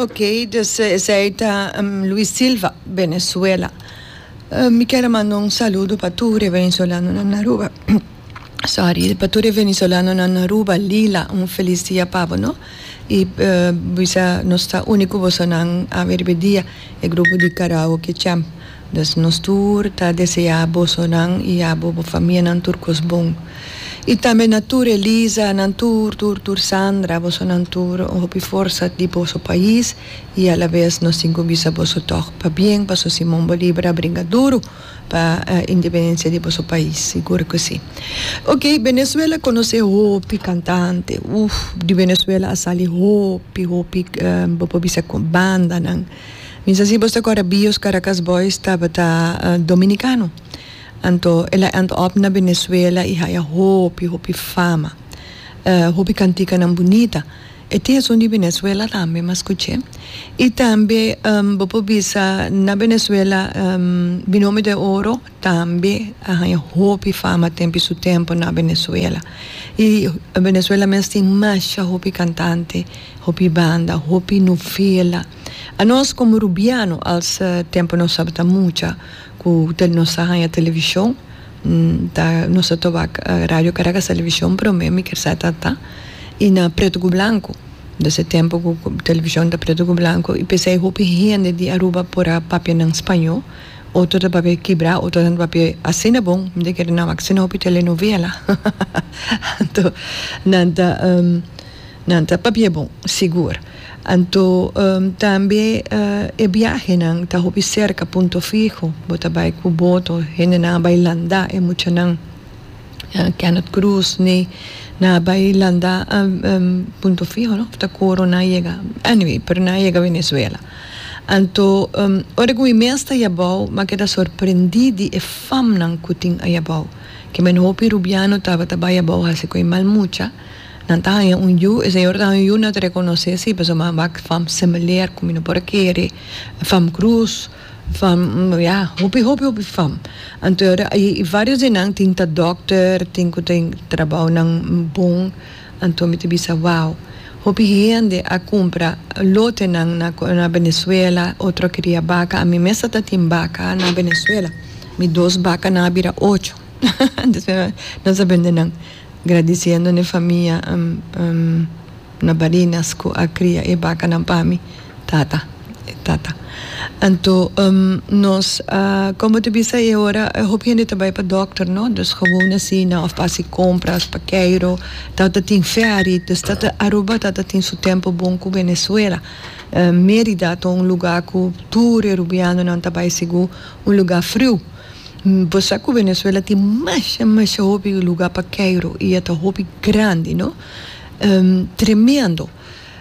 Ok, dus esei ta Luis Silva, Venezuela. Mi kier a manda un saludo pa tur e venezolanonan na Aruba. Sorry, pa tur e venezolanonan na Aruba, Lila, un felis dia pa bo, no? I bisa nos ta uni ku bosonan awe riba e dia, e grupo di Karaoke Champ. Dus nos tur ta deseá bosonan i abo bo famianan tur kos bon. I tambe na tur Elisa, nan tur, tur, tur Sandra, bosonan tur hopi forsa di boso pais i alabes nos tin ku bisa boso tòg pabien paso Simon Bolívar a bringa duru pa independensia di boso pais, sigur ku si. Ok, Venezuela konosé hopi kantante, uf, di Venezuela a sali hopi, hopi bo por bisa bandanan. Mi sa si bo ta kòrda Bios Caracas Boys tabata dominicano. Anto el a end up na Venezuela i haya hopi hopi fama. Hopi kantikanan bunita. E tin esun di Venezuela tambe m'a skuch'é. I tambe bo por bisa na Venezuela Binomio de Oro tambe a haña hopi fama tempu su tempu na Venezuela. I Venezuela mes tin masha hopi kantante, hopi banda, hopi novela. Anos komo rubiano als tempu nos tabata mucha ku nos a haña televishon ta nos a tobak Radio Caracas televishon prome mi kier sa ta ta i na pretu ku blanku des e tempu ku televishon ta pretu ku blanku i p'esei hopi hende di Aruba por a papia nan spañó otro ta papia kibra otro ta papia asina bon mi ta kere nan wak asina hopi telenovela anto nan ta. Nan ta papia bon, sigur. Anto tambe e biahenan ta hopi serka Punto Fijo. Bo ta bai ku boto, hendenan a bai landa e muchanan Kenneth Cruz ni nan a bai landa Punto Fijo no ta koro nan a yega anyway pero nan a yega Venezuela. Anto ora ku mi mes ta yabou mi a keda sorprendí di e famnan ku tin ayabou. Kimen hopi rubiano tabata bai abou hasi ku e mal mucha. Nan ta haña un yu, e señor ta haña un yu, nan ta rekonosé si, pasobra mi a wak fam Semeleer ku mi no por a kere, fam Cruz, fam, ya, hopi, hopi, hopi fam. Anto e ora i varios di nan tin ta dòkter, tin ku tin trabounan bon, anto mi ta bisa wou, hopi hende a kumpra lotenan na na Venezuela, otro a kria baka, ami mes ta tin baka na Venezuela, mi dos bakanan a bira ocho, nos a bende nan. Gradiciendo n'e famia na Barinas cu a cria e bacanan pa mi tata, e tata. Anto nos a, como ta bisa e ora hopi hende ta bay pa dokter no, dus gewoon asina of pa haci compras, pa keiro, tata tin ferry, dus tata Aruba tata tin su tempo bon cu Venezuela. Merida ta un lugar cu tur e Rubianonan ta bay sigur, un lugar friu. Bo sa ku Venezuela tin masha masha hopi luga pa keiru i e ta hopi grandi no. Tremendo.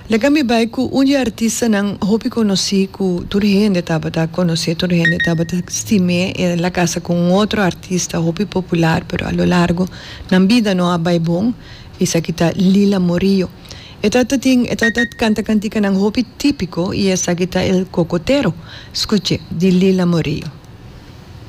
Laga mi bai ku un di e artistanan hopi konosí ku tur hende tabata konosé, tur hende tabata stim'é. El a kasa ku un otro artista hopi popular pero a lo largo nan bida no a bai bon, esaki ta Lila Morillo. E tabata tin e tabata kanta kantikanan hopi típiko i esaki ta El Cocotero. Skuch'é, di Lila Morillo.